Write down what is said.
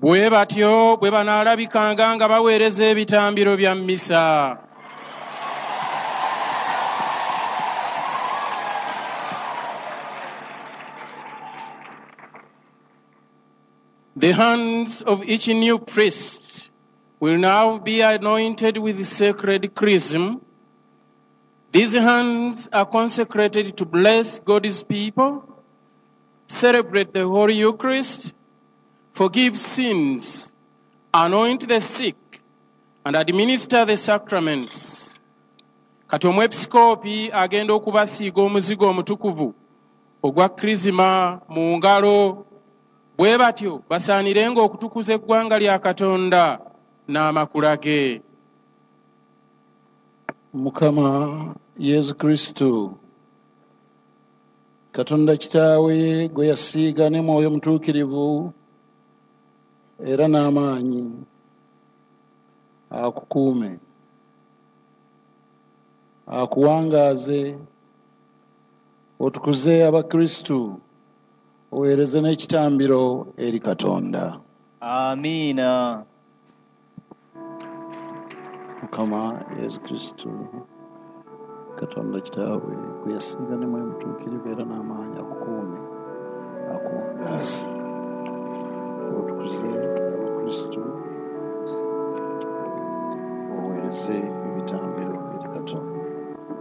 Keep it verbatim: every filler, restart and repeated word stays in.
Bwe batyo bwe banaalabikanga nga baweereza ebitambiro bya mmisa. The hands of each new priest will now be anointed with sacred chrism. These hands are consecrated to bless God's people, celebrate the Holy Eucharist, forgive sins, anoint the sick, and administer the sacraments. Kati omwepisikoopi agenda okubasiiga omuzigo omutukuvu ogwa Kirizima mu ngalo, bwe batyo basaanirenga okutukuza eggwanga lya Katonda n'amakula ge. Mukama Yesu Kristo, Katonda Kitaawe gwe yasiiga ne Mwoyo Mutuukirivu era n'amaanyi, akukuume, akuwangaaze, otukuze Abakristu, oweereze n'ekitambiro eri Katonda. Amiina. Mukama Yesu Kristo, Katonda Kitaawe gwe yasiiga ne Mwoyo Mutuukirivu era n'amaanyi, akukuume, akuwangaaze, otukuze Abakristu, oweereze